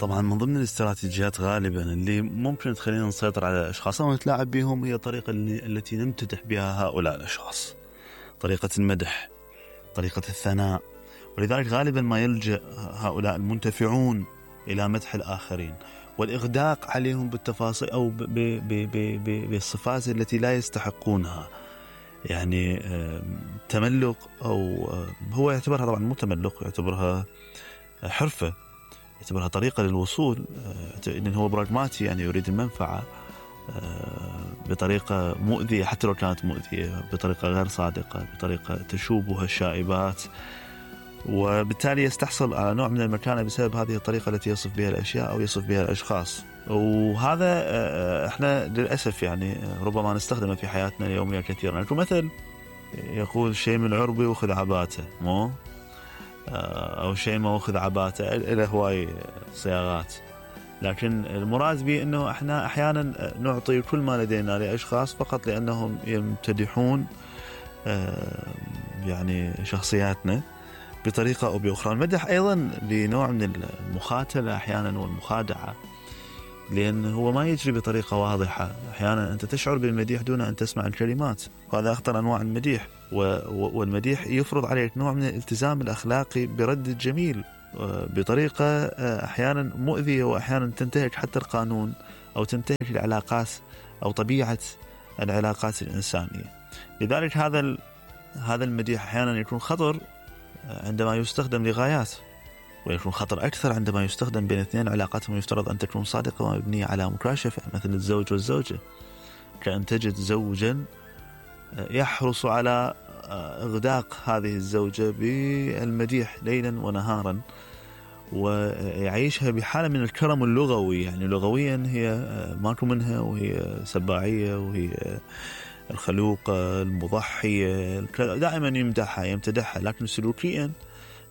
طبعا من ضمن الاستراتيجيات غالبا اللي ممكن تخلينا نسيطر على الأشخاص أو نتلاعب بهم هي الطريقة التي نمتدح بها هؤلاء الأشخاص، طريقة المدح، طريقة الثناء. ولذلك غالبا ما يلجأ هؤلاء المنتفعون إلى مدح الآخرين والإغداق عليهم بالتفاصيل أو بالصفات التي لا يستحقونها. يعني تملق، أو هو يعتبرها طبعا مو تملق، يعتبرها حرفة، يعتبرها طريقة للوصول، إنه هو براغماتي، يعني يريد المنفعة بطريقة مؤذية حتى لو كانت مؤذية، بطريقة غير صادقة، بطريقة تشوبها الشائبات، وبالتالي يستحصل على نوع من المكانة بسبب هذه الطريقة التي يصف بها الأشياء أو يصف بها الأشخاص. وهذا احنا للأسف يعني ربما نستخدمه في حياتنا اليومية كثيرا. مثل يقول شيء من عربي وخذ عباته، مو أو شيء ما وخذ عباته، إلى هواي صياغات. لكن المراد به أنه احنا أحيانا نعطي كل ما لدينا لأشخاص فقط لأنهم يمتدحون يعني شخصياتنا بطريقة أو بأخرى. المدح أيضا بنوع من المخاتلة أحيانا والمخادعة، لأن هو ما يجري بطريقة واضحة. أحيانا أنت تشعر بالمديح دون أن تسمع الكلمات، وهذا أخطر أنواع المديح. والمديح يفرض عليك نوع من الالتزام الأخلاقي برد الجميل بطريقة أحيانا مؤذية، وأحيانا تنتهك حتى القانون أو تنتهك العلاقات أو طبيعة العلاقات الإنسانية. لذلك هذا المديح أحيانا يكون خطر عندما يستخدم لغايات، ويكون خطر أكثر عندما يستخدم بين اثنين علاقاتهم يفترض أن تكون صادقة ومبنية على مكاشفة، مثل الزوج والزوجة. كأن تجد زوجا يحرص على إغداق هذه الزوجة بالمديح ليلا ونهارا، ويعيشها بحالة من الكرم اللغوي. يعني لغويا هي ماكو منها، وهي سباعية، وهي الخلوقة المضحية، دائما يمتدحها. لكن سلوكيا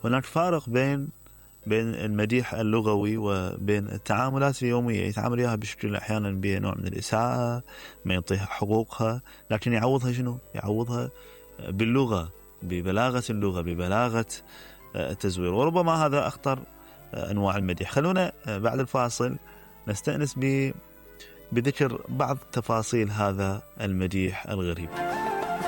هناك فارق بين المديح اللغوي وبين التعاملات اليومية. يتعامل وياها بشكل أحيانا بنوع من الإساءة، ما يعطيها حقوقها، لكن يعوضها شنو؟ يعوضها باللغة، ببلاغة اللغة، ببلاغة التزوير. وربما هذا أخطر أنواع المديح. خلونا بعد الفاصل نستأنس بذكر بعض تفاصيل هذا المديح الغريب.